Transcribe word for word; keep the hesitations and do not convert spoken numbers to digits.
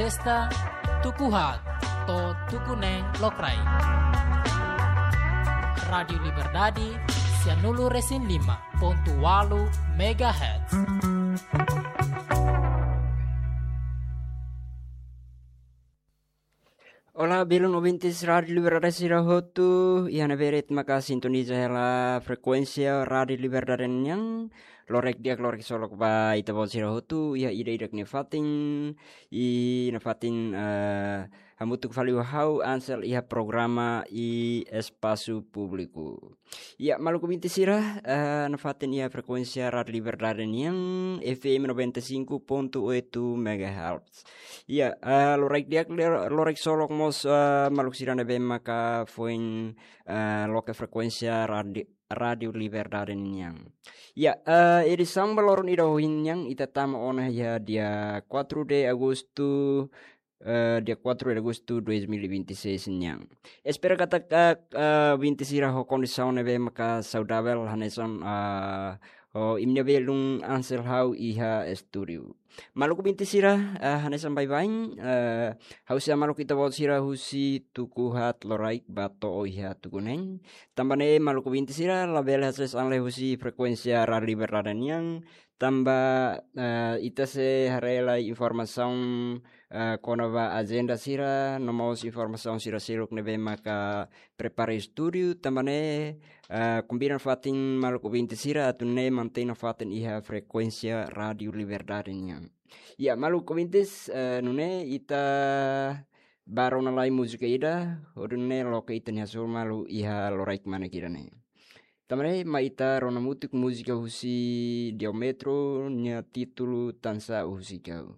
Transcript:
Esta tuku haat to'o tuku neen lokraik. Rádiu Liberdade, sianulu resin lima pontu walu megahertz. Olá, belun ouvintes Rádiu Liberdade sira hotu, iha ne'ebé de'it maka sintoniza hela frekuénsia Rádiu Liberdade nian, loraik di'ak loraik solok ba ita-boot sira hotu, iha ida-idak nia fatin, i nafatin, eh, hamutuk fali ho ha'u Ansel iha programa Espasu Públiku. Ya, maluk ouvinte sira, eh, nafatin iha frekuénsia Rádiu Liberdade nian, F M noventa e cinco ponto oito megahertz. Ya, eh, loraik di'ak, lor-, loraik solok mós, eh, maluk sira ne'ebé maka foin, eh, loke frekuénsia Rádiu, Rádiu Liberdade nian. Ya, eh, edisaun ba loron ida ohin nian ita tama ona iha dia quatro de agosto, eh, dia quatro de agosto dois mil e vinte e seis nian. Espera katak, eh, eh, ouvinte sira ho kondisaun ne'ebé maka saudavel hanesan, eh, ho imi-nia belun Ansel ha'u iha estúdiu. Maluk ouvinte sira, eh, hanesan baibain, eh, ha'u sei hamaluk ita-boot sira husi tuku haat loraik ba to'o iha tuku neen. Tanba ne'e maluk ouvinte sira labele hasees an lai husi frekuénsia Rádiu Liberdade nian, tanba, eh, ita sei haree lai informasaun, eh, kona-ba ajenda sira, no mós informasaun sira seluk ne'ebé maka prepara estúdiu, tanba ne'e, eh, konvida nafatin maluk ouvinte sira atu nune'e mantein nafatin iha frekuénsia Rádiu Liberdade nian. Ya, maluk ouvintes, eh, nune'e ita bá rona lai múzika ida, hodi nune'e loke ita-nia hasoru malu iha loraik manek ida-ne'e. Tanba ne'e mai ita rona hamutuk múzika husi Diametro, nia títulu Tansá Husik Ha'u.